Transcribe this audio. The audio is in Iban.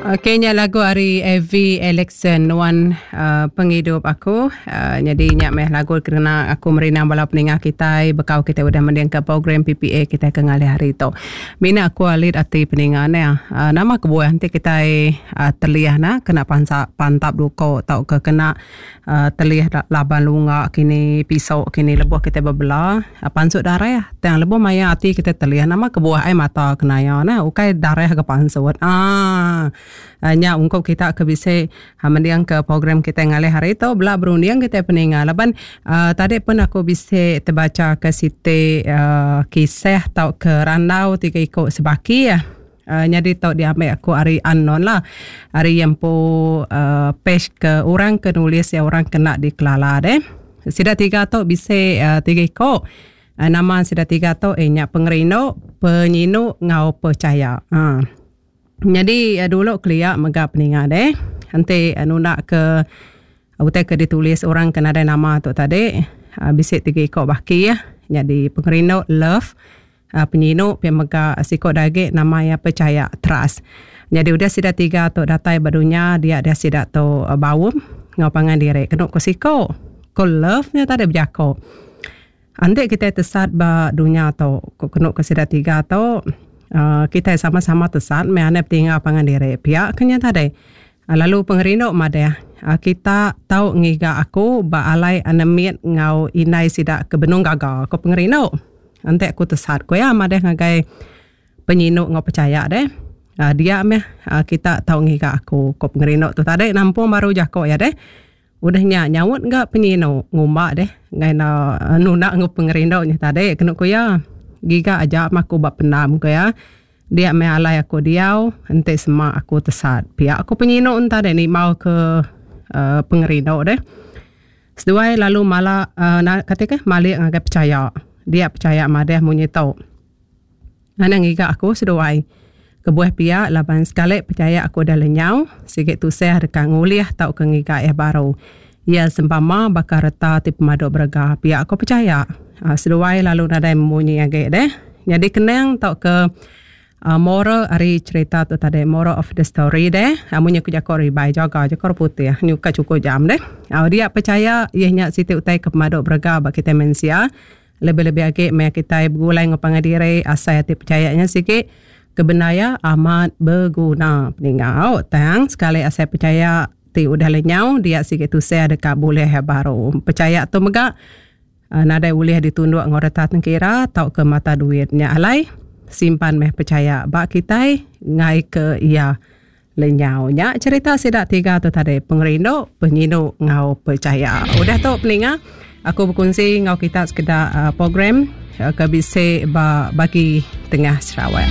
Okey nya lagu ari AV Alexson nuan uh, pengidup aku. Uh, nyadi nya meh lagu kena aku merindang bala peninga kitai bekau kitai udah mendingka program PPA kitai ke ngalih hari tu. Mina aku alit ati peninga neh. Uh, nama kebuah enti kitai uh, telih nah kena pansa pantap duko tauka kena uh, telih laban lunga kini piso kini lebuh kitai bebela uh, pansut darah tang lebuh maya ati kitai telih nama kebuah ai mata kena iya neh ukai darah ke pansut. Uh, nya ungkup kita ke bisi mending ke program kitai ngalih hari tu bela berunding kitai peninga laban uh, tadi pun aku bisi tebacha ke siti uh, kisah tauka randau tiga iku sebaki uh, nyadi tu diambil aku ari unknown lah ari iya empu uh, page ke orang ke nulis ya orang kena dikelala deh. Sida tiga tu bisi uh, tiga iku. Uh, nama sida tiga tu eh nya pengerindu, penyinu ngau percaya. Uh. Nyadi dulu kelia mega peninga deh enti nunda ke utai ke ditulis orang ke nadai nama tu tadi bisi tiga iko baki nyadi pengerindu love penyinu pia mega siko da agi nama iya pechaya trust. Nyadi udah sida tiga tu datai ba dunya dia deh sida tu baum enggau pangan diri kenu ku siko ku love nya tadi bejako. Enti kitai tesat ba dunya tu, ku kenu ke sida tiga tu, uhh kitai sama-sama tesat meh anai betinggal pangan diri. Pia ke nya tadi. Lalu pengerindu madah, kita tau ngiga aku ba alai anak mit enggau indai sida ke benung gaga, ku pengerindu. Enti aku tesat, ku iya madah ngagai penyinu enggau pechaya deh. Uhh dia meh kita tau ngiga aku, ku pengerindu tu tadi nampung baru jaku iya deh. Udah nya nyaut ga penyinu ngumba deh enggai enda nunda enggau pengerindu nya tadi kenu ku iya. Giga aja meh aku ba pendam ku iya. Dia meh alai aku diau enti sema aku tesat. Pia ku penyinu enta deh nimbau ke uhh pengerindu deh. Seduai lalu mala uhh kati kah malik ngagai pechaya. Dia pechaya madah munyi tu. Anang ngiga aku seduai. Kebuah pia laban sekali pechaya aku udah lenyau, sigi tusah deka ngulih tauka ngiga iya baru. Iya sempama baka reta ti pemadu berega pia aku pechaya. Seduai lalu nadai memunyi agi deh. Nyadi kenang tauka moral ari cherita tu tadi, moral of the story deh, munyi ku jaku ribai jaga jaku orang putih nyuka chukup jam deh. Dia pechaya iya nya siti utai ke pemadu berega ba kitai mensia. Lebih-lebih agi meh kitai begulai enggau pangan diri asai ati pechaya nya sigi ke bendar iya amat beguna peningau. Tang sekali asai pechaya ti udah lenyau dia sigi tusah deka bulih iya baru. Pechaya tu mega nadai ulih ditunduk enggau reta tengkira tauka mata duit. Nya alai simpan meh pechaya ba kitai enggai ke iya lenyau. Nya cherita sida tiga tu tadi, pengerindu, penyinu enggau pechaya. Udah tu peninga, aku bekunsi enggau kita sekeda program ke bisi ba bagi tengah Sarawak.